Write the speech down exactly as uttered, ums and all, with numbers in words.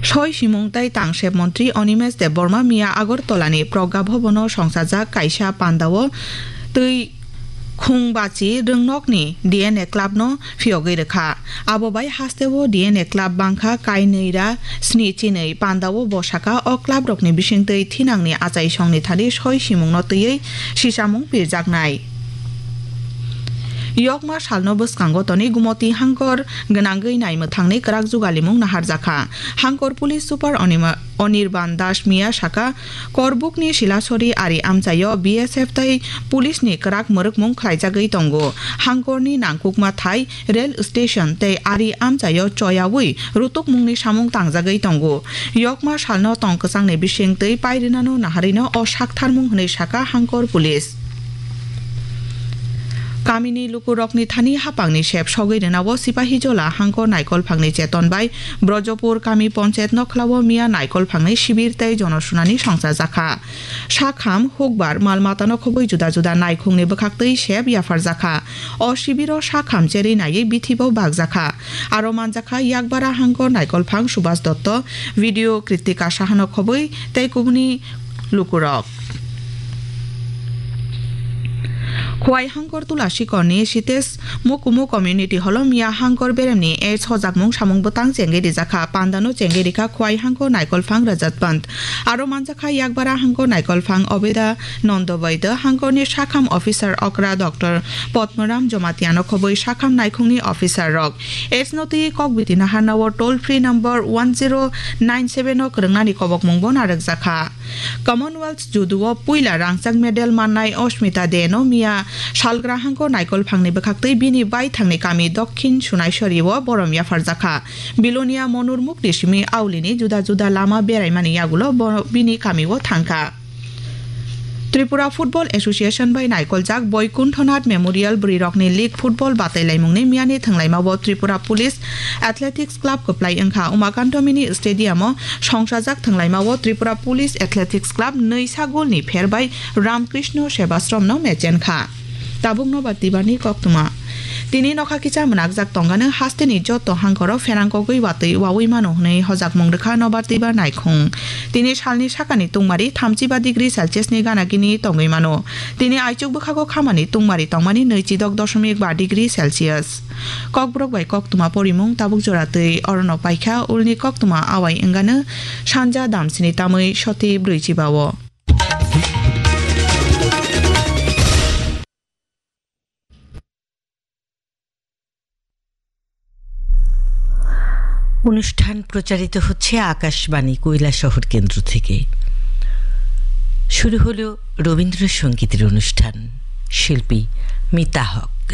Soi simung tei tangsep montri Animesh Debbarma miya Agartala ni Pragya Bhavan o songchajak kaisa pandao twi khung bachi rwngnokni D N A club no phiyogwi rwkha. Abo bai hasteo D N A club bangkha kainwi ra sni chinwi pandao bo saka o club rokni bisingtwi thinangni achaisongni thani soi simungno twiwi sisamung pirjaknai. Yokma salno bwskango toni Gumoti hangkor gwnangwi naimwthangni kwrak jugalimung naharjakha. Hangkor Police Super Onima-, Anirban Das miya saka, Korbukni Silasori ari amchaio B S F tei police ni kwrak mwrwkmung khlaijagwi tongo. Hangkorni nangkukma thai rail station tei ari amchaio choyawi rutukmungni samung tangjagwi tongo. Yokma salno tong kwchangni bising twi pairinano naharino o saktharmung hwnwi saka Hangkor Police. Kamini lukurokni thani hapangni sep sogwi rwnao Sipahijola Hangkor Naikolphangni cheton bai Brojopur Kami Ponchayat Nokhlao miya Naikolphangni sibir tei jonosunani songchajakha. Sakham, hukbar, mal matano khobwi juda juda naikhungni bwkhaktwi sep yapharjakha. O sibiro sakham cherwi naiwi bithibo bakjakha. Aro manjakha Yakbara Hangkor Naikolphang Subhas Dotto, video Kritika Sahano khobwi tei kubuni lukurok. Khowai Hangkor Tulasikorni Sitesh Mukumu Community Hall o miya Hangkor beremni AIDS hojakmung samung bwtang chengwi rijakha, pandano chengwi rikha Khowai Hangkor Naikolphang Rajat Pant. Aro manjakha Yakbara Hangkor Naikolphang Obeda Nondo Baidya, Hangkorni sakham officer okra Doctor Padmaram Jomatiano khobwi sakham naikhungni officer rok. AIDS no twi kokbiti naharnao toll free number one zero nine seven o kwrwngnani kobokmungbo narwkjakha. Commonwealth Judo o puila rangchak medal mannai Osmita De no miya salgra Hangkor Naikolphangni bwkhaktwi bini baithangni kami Dokhin Sunaisori o borom yapharjakha. Bilonia Monur Mukti simi Aulini juda juda lama beraimani yagulo bo bini kamio thangkha. Tripura Football Association bai naikoljak Boikunthanath Memorial Bwrwirokni League Football batailaimungni miyani thwnglaimao Tripura Police Athletics Club kwplai wngkha. Umakanto Mini Stadium o songchajak thwnglaimao Tripura Police Athletics Club nwisa golni pher bai Ramkrishna Sebashram no mechenkha. Tabuk nobar twibarni koktwma. Tini nokha kisa mwnakjak tongano hasteni joto hangkoro pherang kogwi watwi wawi mano hwnwi hojakmung rwkha nobar twibar naikhung. Tini salni sakani tungmari thamchiba degree Celsius ni gana gini tongwi mano. Tini aichuk bwkhago khamani tungmari tongmani nwichidok dosomik ba degree Celsius. Kokborok bai koktwma porimung tabuk jora twi orono paikha, ulni koktwma awai wngano sanja damsini tamwi soti brwichiba o. অনুষ্ঠান প্রচারিত হচ্ছে আকাশবাণী কৈলাসহর কেন্দ্র থেকে। শুরু হলো রবীন্দ্রসঙ্গীতের অনুষ্ঠান, শিল্পী মিতা হক।